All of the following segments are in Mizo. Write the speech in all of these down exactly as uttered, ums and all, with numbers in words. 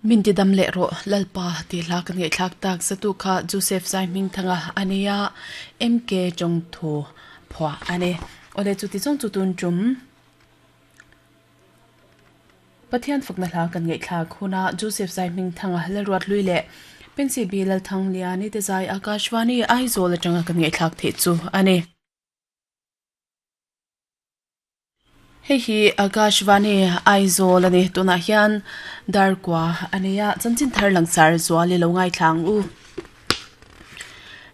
Min ti dam leh rawh Lalpa tih hla kan ngaihthlak tak zatu kha Joseph Zai Hmingthanga a nia M K Chawngthu phuah a ni. Awle chuti zawng chu tun tum Pathian fakna hla kan ngaihthlak huna Joseph Zai Hmingthanga Lalruat Lui leh Pensy B Lalthangliani te zai Akashvani Aizawl atanga kan ngaihthlak theih chu a ni. Hei hi Akashvani Aizawl a ni. Tunah hian darkua a nia chanchin thar langsar zual i lo ngaithlang u.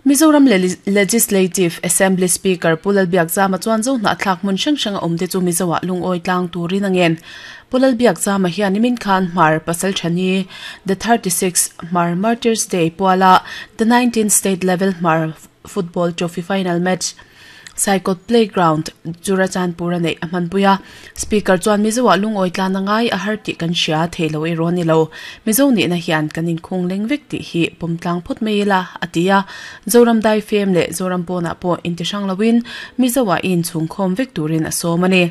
Mizoram Legislative Assembly Speaker Pu Lalbiakzama chuan zo hnahthlak hmun hrang hrang a awm te chu Mizoah lungawi tlang turin a ngen. Pu Lalbiakzama hian nimin khan Hmar Pasal Thani the thirty-six Hmar Martyrs Day puala the nineteen State Level Hmar Football Trophy Final Match Saikawt Playground, Churachandpur a neih a hmanpui a. Speaker chuan Mizoah lungawi tlan a ngai a har tih kan hria thei lo erawh a ni lo. Mizo nihna hian kan inkhung leng vek tih hi pawm tlang phawt mai ila a ti a. Zoram daifem leh Zoram pawnah pawh intihrang loin Mizoah i inchhungkhawm vek turin a sawm a ni.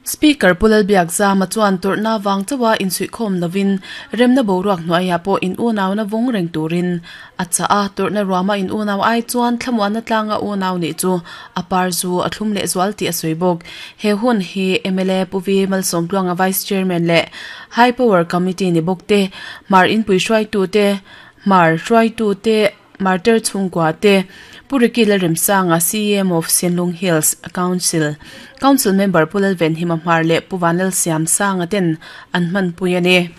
Speaker Pu Lalbiakzama chuan tawrhna vang chauha insuihkhawm lovin remna boruak hnuaiah pawh in unauna vawng reng turin a chah a, tawrhna ruama in unau ai chuan thlamuanna tlanga unau nih chu a par zu a thlum leh zual tih a sawi bawk. He hun hi M L A Pu Vi Malsawmtluanga Vice Chairman leh High Power Committee ni bawk te, Hmar inpui hruaitute, Hmar hruaitute, Martyr chhungkua te, Pu Ricky Lalremsanga C M of Sinlung Hills Council, Council Member Pu Lalvenhima Hmar leh Pu Vanlal Siamsanga ten an hmanpui a ni.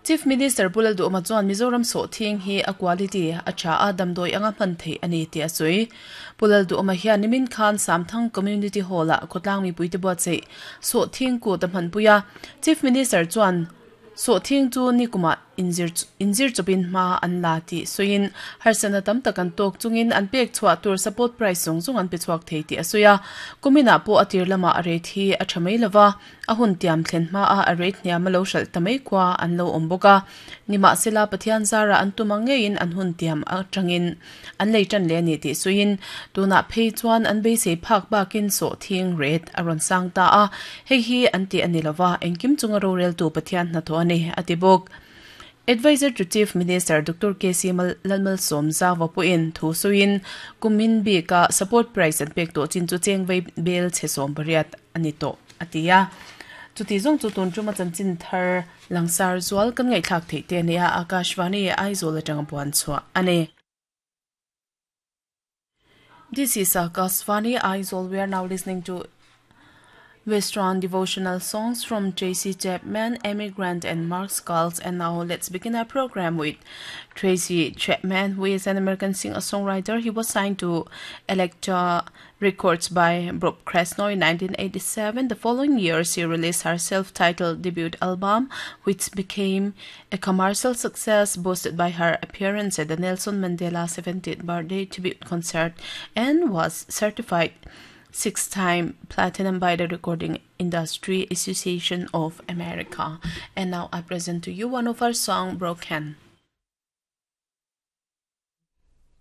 Chief Minister Pu Lalduhoma chuan Mizoram sawhthing hi a quality a tha a, damdawi anga hman theih a ni tih a sawi. Pu Lalduhoma hian nimin khan Samthang Community Hall-ah khawtlang mipuite buatsaih sawhthing kut a hmanpui a. Chief Minister chuan sawhthing chu nikumah inzir inzir chawpin hma an la tih sawiin harsatna tam tak an tawk chungin an pek chhuah tur support price zawng zawng an pe chhuak thei tih a sawi a. Kuminah pawh a tir lamah a rate hi a tha mai lova, a hun tiam thlen hma a a rate hniam a lo hralh ta mai khua an lo awm bawk a. Nimahsela Pathian zara an tum ang ngeiin an hun tiam atangin an lei tan leh a ni tih sawiin tunah phei chuan an beisei phak bakin sawhthing rate a rawn sang ta a, hei hi an tih a ni lova, engkim chunga roreltu Pathian hnathawh a ni a ti bawk. Advisor to Chief Minister Doctor K C Lalmalsawm Zawa pawhin thu sawiin kumin bika support price an pek tawh chin chu cheng vei bel chhe sawm pariat a ni tawh a ti a. Chuti zawng chu tun tuma chanchin thar langsar zual kan ngaihthlak theih te a ni a, Akashvani Aizawl atanga puan chhuah a ni. This is Akashvani Aizawl. We are now listening to Western devotional songs from Tracy Chapman, Amy Grant, and Mark Skulls. And now let's begin our program with Tracy Chapman, who is an American singer-songwriter. He was signed to Elektra Records by Bob Krasnow in nineteen eighty-seven. The following year, she released her self-titled debut album, which became a commercial success, boosted by her appearance at the Nelson Mandela seventieth birthday tribute concert, and was certified six-time platinum by the Recording Industry Association of America. And now I present to you one of her song, "Broken."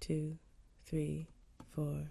Two, three, four.